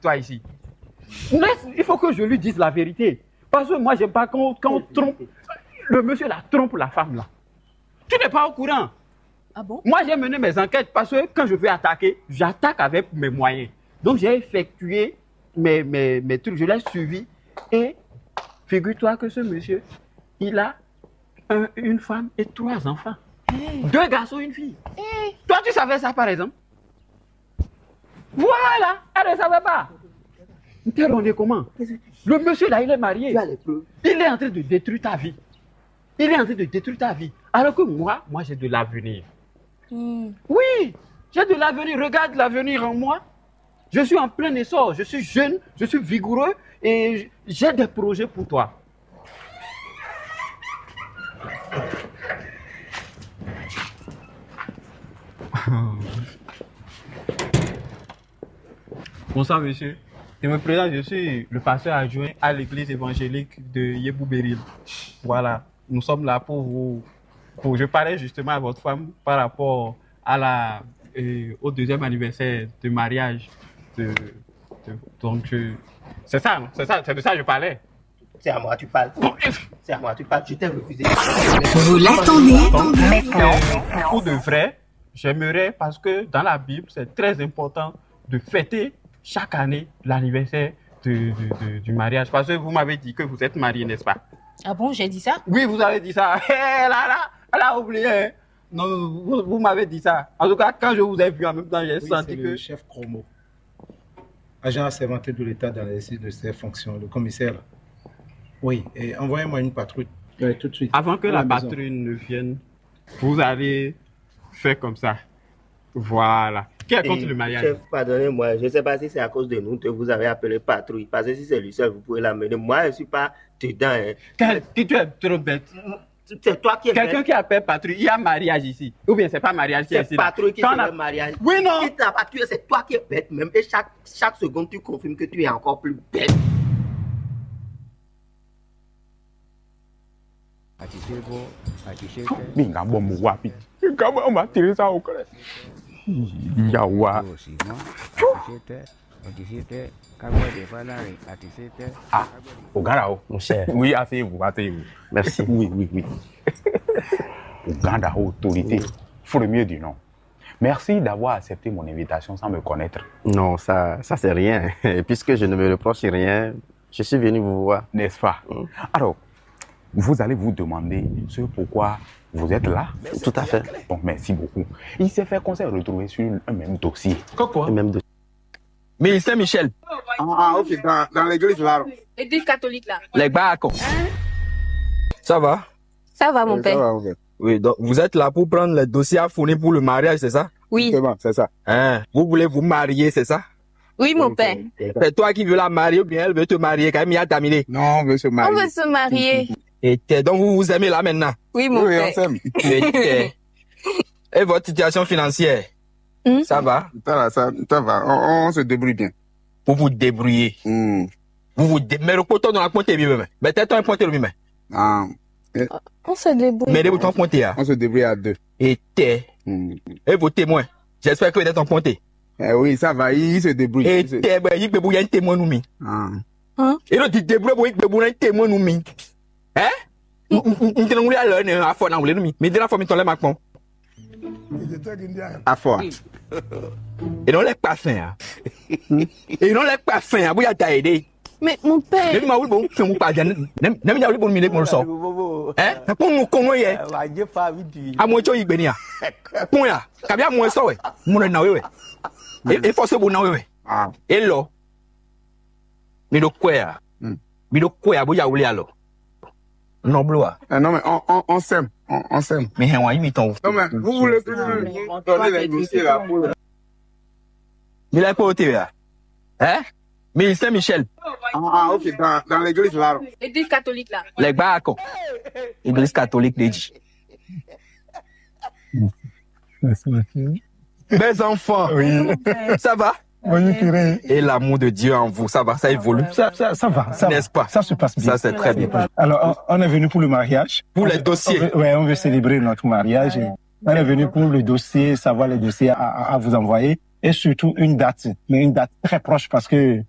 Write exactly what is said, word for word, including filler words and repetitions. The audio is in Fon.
toi ici. Laisse, il faut que je lui dise la vérité. Parce que moi, j'aime pas quand, quand on trompe. Le monsieur là trompe la femme là. Tu n'es pas au courant. Ah bon? Moi, j'ai mené mes enquêtes parce que quand je veux attaquer, j'attaque avec mes moyens. Donc, j'ai effectué mes, mes, mes trucs, je l'ai suivi. Et figure-toi que ce monsieur, il a un- une femme et trois enfants. Deux garçons, une fille. Toi, tu savais ça, par exemple? Voilà, elle ne savait pas. T'es rendu comment? Le monsieur là, il est marié. Tu as les preuves. Il est en train de détruire ta vie. Il est en train de détruire ta vie. Alors que moi, moi, j'ai de l'avenir. Hmm. Oui, j'ai de l'avenir. Regarde l'avenir en moi. Je suis en plein essor. Je suis jeune, je suis vigoureux et j'ai des projets pour toi. Bonsoir, monsieur. Je me présente, je suis le pasteur adjoint à l'église évangélique de Yébouberil. Voilà, nous sommes là pour vous. Pour, je parlais justement à votre femme par rapport à la, euh, au deuxième anniversaire de mariage. De, de- donc, je- c'est ça, non? C'est ça, c'est de ça que je parlais. C'est à moi tu parles. C'est à moi tu parles. Je t'ai refusé. Vous l'attendez? Donc, euh, pour de vrai, j'aimerais, parce que dans la Bible, c'est très important de fêter chaque année l'anniversaire de- de- de- du mariage. Parce que vous m'avez dit que vous êtes marié, n'est-ce pas? Ah bon, j'ai dit ça? Oui, vous avez dit ça. Hé, là, là, elle a oublié. Non, vous, vous m'avez dit ça. En tout cas, quand je vous ai vu en même temps, j'ai Oui, senti c'est que le chef Chromo, agent assermenté de l'État dans l'exercice de ses fonctions, le commissaire. Là. Oui, et envoyez-moi une patrouille euh, tout de suite. Avant que à la maison. Patrouille ne vienne, vous allez faire comme ça. Voilà. Qui est contre le mariage? Chef, pardonnez-moi, je ne sais pas si c'est à cause de nous que vous avez appelé patrouille. Parce que si c'est lui seul, vous pouvez l'amener. Moi, je ne suis pas dedans. Hein. Quel- Tu tu es trop bête. C'est toi qui es Quelqu'un bête. Qui appelle patrouille, il y a mariage ici. Ou bien c'est pas mariage qui est C'est ici. Là. patrouille qui Quand fait on a- le mariage. Oui, non. Qui t'a pas tué, c'est toi qui es bête même. Et chaque, chaque seconde, tu confirmes que tu es encore plus bête. Mi nga bɔ mo wa bi. Nga bɔ ma tiri sa o kɔrɛ. Yawa. Ah, o gara o. Mon cher. Oui, asseyez-vous, asseyez-vous. Merci. Oui, oui, oui. O gara, autorité. Faut le mieux du nom. Merci d'avoir accepté mon invitation sans me connaître. Non, ça, ça c'est rien. Et puisque je ne me reproche rien, je suis venu vous voir. N'est-ce pas? Alors, vous allez vous demander ce pourquoi vous êtes là. Tout à fait. Bon, merci beaucoup. Il s'est fait qu'on s'est retrouvé sur un même dossier. Et même de Mille Saint-Michel, Ah, ah, ok, dans, dans l'église là. L'église catholique là. Les Gbako. Ça va? Ça va, mon Oui, père. Ça va, ok. Oui, donc vous êtes là pour prendre les dossiers à fournir pour le mariage, c'est ça? Oui. C'est bon, c'est ça. Hein, vous voulez vous marier, c'est ça? Oui, mon père. C'est toi qui veux la marier ou bien elle veut te marier quand même, il y a Damilé. Non, on veut se On marier. Veut se marier. Et t'es- donc vous vous aimez là maintenant. Oui, mon Oui, oui, on père. S'aime. Et, et- et votre situation financière, Hmm? Ça va? Ça va, ça, ça va. On, on se débrouille bien. Vous vous débrouillez. Hmm. Vous vous dé... Mais le poteau dans la pointe est bien, mais t'es un pointe lui, mais. Ah, On se débrouille. Mais les boutons pointés, hein. On se débrouille à deux. Et t'es. Hmm. Et vos témoins. J'espère que vous êtes en pointé. Eh oui, ça va, il, il se débrouille. Et Il se- t'es, ben, il peut bouillir un témoin, nous, mi. Ah. Et le dit débrouille, il peut bouillir un témoin, nous, mi. Hein? N tɛnɛ wuli alɔ ne afɔ na wuli nu mi mi dira fɔ mi tɔn lɛ ma kpɔn. Afɔ. E nɔ lɛ kpa fɛn ya. E nɔ lɛ kpa fɛn ya bóyá da yɛ de. Mais mon Ne père. mi ma wuli bo fɛn mu kpa jɛ ne mi na mi ja wuli bo mi ne gbɔn sɔ. Ɛ na kpɔn nu kɔn yɛ. Amu etso yi gbe ni ya. Kpɔn ya kabi amu esɔ wɛ. Mu na we wɛ. E fɔ se bo na we wɛ. Ah. E lɔ. Mi ɖo kwɛ ya. Mi ɖo kwɛ ya bó ya wuli alɔ. Nɔ bló wa. Eh, non, mais on, on, on s'aime. On, on s'aime. Mi hɛn wa yi mi tɔn. Non, mais vous voulez plus nous donner les dossiers là pour le Mi lɛ kpó te ya. Ɛ? Mi Saint Michel. Ah, ah, ok, dans, dans l'église là. L'église catholique là. Lɛ gba akɔ. Église catholique de ji. Mes enfants. Oui. Ça va? Bonjour, curé. Et l'amour de Dieu en vous, ça va, ça évolue. Ça, ça, ça va, ça va. N'est-ce pas? Ça se passe bien. Ça, c'est très bien. Alors, on, on est venu pour le mariage. Pour les On veut- dossiers. On veut, ouais, on veut célébrer notre mariage. Et on est venu pour le dossier, savoir les dossiers à, à- à vous envoyer. Et surtout une date, mais une date très proche parce que